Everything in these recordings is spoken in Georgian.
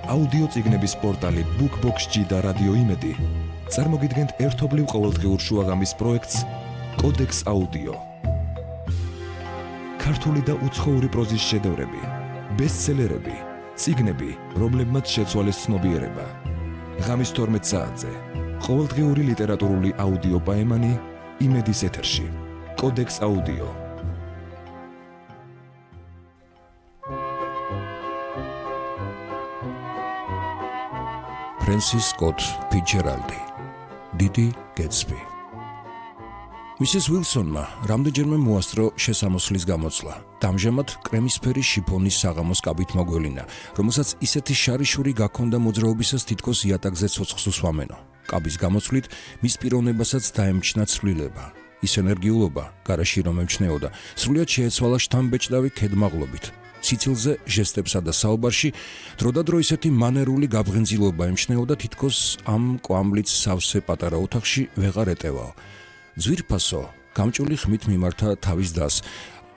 აუდიო წიგნების პორტალი BookBox-G და რადიო იმედი წარმოგიდგენთ ერთობლივ ყოველდღიურ შუაღამის პროექტს კოდექს აუდიო. ქართული და უცხოური პროზის შედევრები, ბესტსელერები, წიგნები, რომლებმაც შეცვალეს ცნობიერება. ღამის 12 საათზე ყოველდღიური ლიტერატურული აუდიო პაემანი იმედის ეთერში. კოდექს აუდიო. ფრენსის სკოტ ფიცჯერალდი, დიდი გეტსბი. მისის უილსონმა რამდენჯერმე მოასწრო შესამოსლის გამოცვლა. ამჟამად კრემისფერი შიფონის საღამოს კაბით მოგველინა, რომელსაც ისეთი შარიშური გაქონდა მოძრაობისას თითქოს იატაკზე ცოცხლს უსვამენო. კაბის გამოცვლით მის პიროვნებასაც დაემჩნა ცვლილება. ის ენერგიულობა, გარაში რომ ემჩნეოდა, სრულიად შეეცვალა შთამბეჭდავი ქედმაღლობით. სიცილზე, ჟესტებსა და საუბარში დროდადრო ისეთი მანერული გაბღენწილობა ემჩნეოდა, თითქოს ამ კვამლით სავსე პატარა ოთახში ვეღარ ეტევაო. ძვირფასო, გამჭული ხმით მიმართა თავის დას.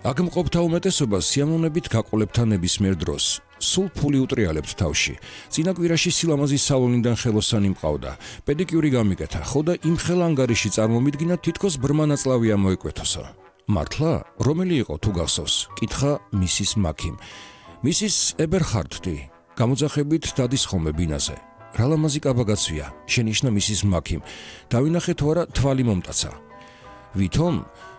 აქ მყოფთა უმეტესობა სიამოვნებით გაყოლებთა ნებისმიერ დროს. სულ ფული უტრიალებთ თავში. წინა კვირაში სილამაზის სალონიდან ხელოსანი მყავდა. პედიკიური გამიკეთა, ხო და იმ ხელ ანგარიში წარმომიდგინა თითქოს ბრმა ნაწლავია მოეკვეთოსო. მართლა, რომელი იყო თუ გახსოვს? კითხა მისის მაქიმ. მისის ებერჰარდი, გამოძახებით დადის ხოლმე ბინაზე. რა ლამაზი კაბაგაცვია, შენიშნა მისის მაქიმ. დავინახე თუ არა თვალი მომტაცა. ვითომ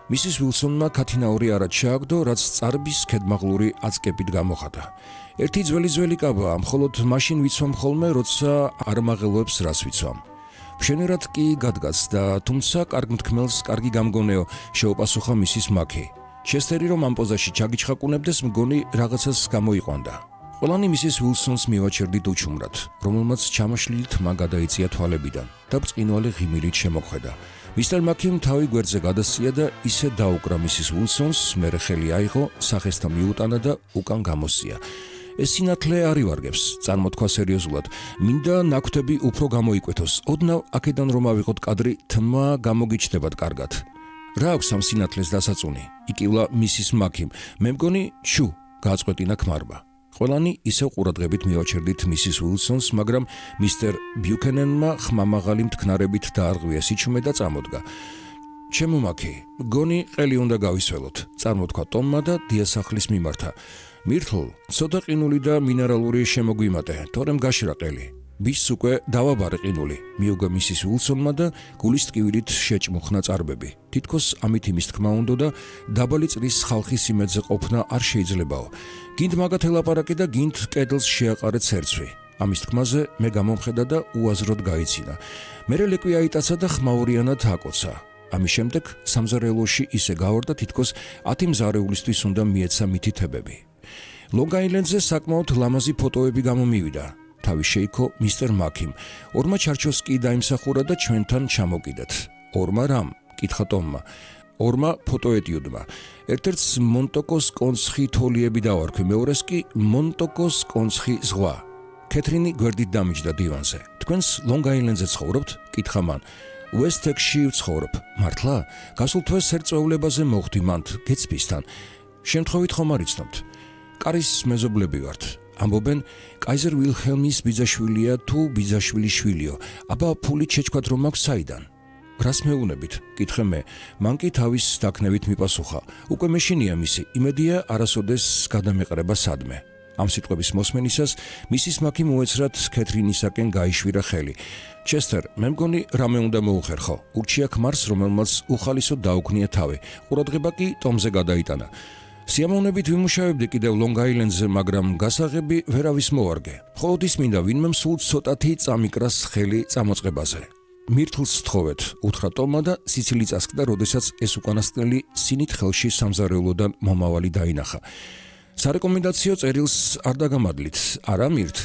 მისის უილსონმა ქათინაური არა ჩააგდო, რაც წარბის ქედმაღლური აწკებით გამოხატა. ერთი ძველი კაბაა, მხოლოდ მაშინ ვიცვამ ხოლმე, როცა არ მაღელვებს რას ვიცვამ. მშვენიერად კი გადგაც და თუმცა კარგ მთქმელს კარგი გამგონეო, შეუპასუხა მისის მაქი. ჩესტერი რომ ამ პოზაში ჩაგიჩხაკუნებდეს, მგონი რაღაცას გამოიყვანდა. ყველანი მისის უილსონს მივაჩერდით უჩუმრად, რომელმაც ჩამაშლილი თმა გადაიწია თვალებიდან და ბრწყინვალე ღიმილით შემოხვედა. მისტერ მაქიმ თავი გვერდზე გადასწია და ისე დაუკრა მისის უილსონს, მერე ხელი აიღო, სახესთან მიუტანა და უკან გამოსწია. ეს სინათლე არ ივარგებს, წარმოთქვა სერიოზულად. მინდა ნაკვთები უფრო გამოიკვეთოს. ოდნავ აქედან რომ ავიღოთ კადრი, თმა გამოგიჩნდებათ კარგად. რა აქვს ამ სინათლეს დასაწუნი? იკივლა მისის მაქიმ. მე მგონი, შუ, გააწყვეტინა ქმარმა. ყველანი ისევ ყურადღებით მივაჩერდით მისის უილსონს, მაგრამ მისტერ ბიუკენენმა ხმამაღალი მთქნარებით დაარღვია სიჩუმე და წამოდგა. ჩემო მაქი, გონი ყელი უნდა გავისველოთ, წარმოთქვა ტომმა და დიასახლის მიმართა. მირთლ, ცოტა ყინული და მინერალური შემოგვიმატე, თორემ გაშრა ყელი. ბიჭს უკვე დავაბარე ყინული, მიუგა მისის უილსონმა და გულის ტკივილით შეჭმუხნა წარბები. თითქოს ამით იმის თქმა უნდა და დაბალი წრის ხალხის იმედზე ყოფნა არ შეიძლებაო. გინდ მაგათ ელაპარაკე და გინდ კედელს შეაყარე ცერცვი. ამის თქმაზე მე გამომხედა და უაზროდ გაიცინა. მერე ლეკვი აიტაცა და ხმაურიანად აკოცა. ამის შემდეგ სამზარეულოში ისე გავარდა, თითქოს 10 მზარეულისთვის უნდა მიეცა მითითებები. ლონგ-აილენდზე საკმაოდ ლამაზი ფოტოები გამომივიდა. თავი შეიქო მისტერ მაქიმ. ორმა ჩარჩოს კი დაიმსახურა და ჩვენთან ჩამოკიდეთ. ორმა რამ? კითხა ტომმა. ორმა ფოტოეტიუდმა. ერთ-ერთს მონტოკოს კონცხი თოლიები დავარქვი, მეორეს კი მონტოკოს კონცხი ზღვა. კეთრინი გვერდით დამიჯდა დივანზე. თქვენს ლონგ-აილენდზე ცხოვრობთ? კითხა მან. უესტ-ტექსში ვცხოვრობ. მართლა? გასულ თვეს სერწეულებაზე მოხვდი მანდ გეტსბისთან. შემთხვევით ხომ არ იცნობთ? კარის მეზობლები ვართ. ამბობენ, კაიზერ ვილჰელმის ბიძაშვილია თუ ბიძაშვილის შვილიო. აბა ფული შეჩქვათ რომ აქვს საიდან? რას მეუნებით? კითხე მე. მან კი თავის დაქნევით მიპასუხა. უკვე მეშინია მისი, იმედია არასოდეს გადამეყრება სადმე. ამ სიტყვების მოსმენისას მისის მაქი მოეცრათ კეთრინისაკენ გაიშვირა ხელი. ჩესტერ, მე მგონი რამე უნდა მოუხერხო. ურჩია ქმარს, რომელმაც უხალისოდ დაუქნია თავი. ყურადღება კი ტომზე გადაიტანა. სიამოვნებით ვიმუშავებდი კიდევ ლონგ-აილენდზე, მაგრამ გასაღები ვერავის მოვარგე. მხოლოდ ის მინდა ვინმემ სულ ცოტათი წამიკრას ხელი წამოწყებაზე. მირთლს სთხოვეთ, უთხრა ტომმა და სიცილი წასკდა, როდესაც ეს უკანასკნელი სინით ხელში სამზარეულოდან მომავალი დაინახა. სარეკომენდაციო წერილს არ დაგამადლით, არა მირთ?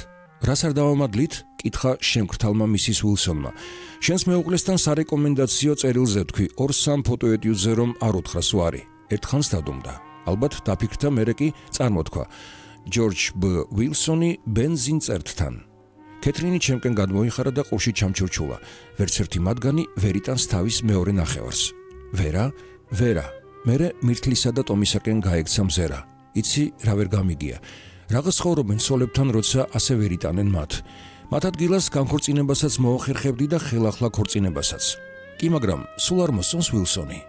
რას არ დავამადლით? კითხა შემკრთალმა მისის უილსონმა. შენს მეუღლესთან სარეკომენდაციო წერილზე თქვი 2-3 ფოტოეტიუდზე რომ არ უთხრას ვარი. ერთხანს დადუმდა. ალბათ დაფიქრდა, მერე კი წარმოთქვა. ჯორჯ ბ. უილსონი ბენზინწერტთან. კეთრინი ჩემკენ გადმოიხარა და ყურში ჩამჩურჩულა. ვერც ერთი მათგანი ვერ იტანს თავის მეორე ნახევარს. ვერა. მერე მირთლისა და ტომისაკენ გაექცა მზერა. იცი რა ვერ გამიგია. Რაღაც ცხოვრობენ სოლებთან, როცა ასე ვერ იტანენ მათ. მათ ადგილას განქორწინებასაც მოახერხებდი და ხელახლა ქორწინებასაც. კი, მაგრამ სულ არ მოსწონს ვილსონი.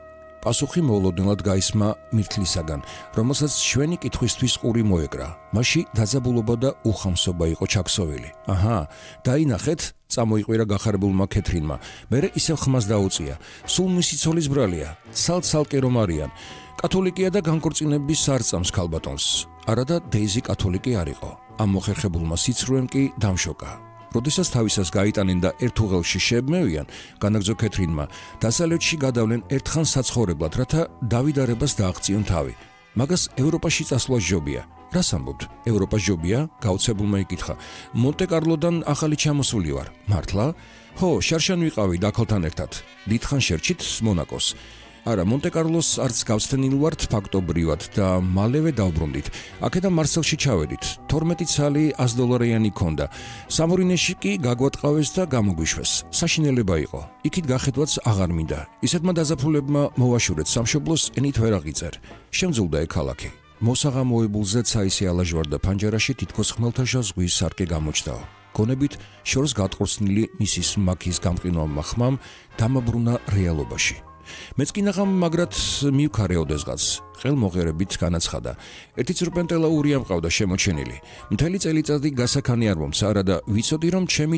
პასუხი მოულოდნელად გაისმა მირთლისაგან, რომელსაც ჩვენი კითხვისთვის ყური მოეკრა. მასში დაძაბულობა და უხამსობა იყო ჩაქსოვილი. აჰა, დაინახეთ, წამოიყვირა გახარებულმა ქეთრინმა. მერე ისევ ხმას დაუწია. სულ მისი ცოლის ბრალია, ცალ-ცალკე რომ არიან. კათოლიკია და განქორწინების არ წამს ქალბატონს. არა და დეიზი კათოლიკი არ იყო. ამ მოხერხებულმა სიცრუემ კი დამშოკა. როდესაც თავისას გაიტანენ და ერთ უღელში შეებმევიან, განაგრძო ქეთრინმა, დასავლეთში გადავლენ ერთხან საცხოვრებლად, რათა დავიდარებას დააღწიონ თავი. მაგას ევროპაში წასვლა ჯობია. რას ამბობთ? ევროპა ჯობია? გაუცებულმა იკითხა. მონტე-კარლოდან ახალი ჩამოსული ვარ. მართლა? ხო, შარშან ვიყავი დაქალთან ერთად. დიდხან შერჩით მონაკოს. არა, მონტე-კარლოს არც გავსთენილ ვართ ფაქტობრივად და მალევე დავბრუნდით. აქედან მარსელში ჩავედით. 12 ცალი $100 ქონდა. სამორინეში კი გაგვატყავეს და გამოგვიშვეს. საშინელება იყო. იქით გახედვაც აღარ მინდა. ისეთმა დაზაფხულებმა მოვაშურეთ სამშობლოს, ენით ვერ აღიწერ. შემძულდა ექალაქი. მოსაღამოებულზე ცაისი ალაჟვარდა ფანჯარაში თითქოს ხმელთაშა ზღვის სარკე გამოჩდაო. გონებით შორს გატყორცნილი მისის მაქის გამყინვარმა ხმამ დამაბრუნა რეალობაში. მეც კი ნახამ, მაგრად მივქარე ოდესღაც. ხელმოღერებით განაცხადა. ერთი ცრუპენტელა ური ამყავდა შემოჩენილი. მთელი წელიწადი გასაქანი არ მომცა, არა და ვიცოდი, რომ ჩემი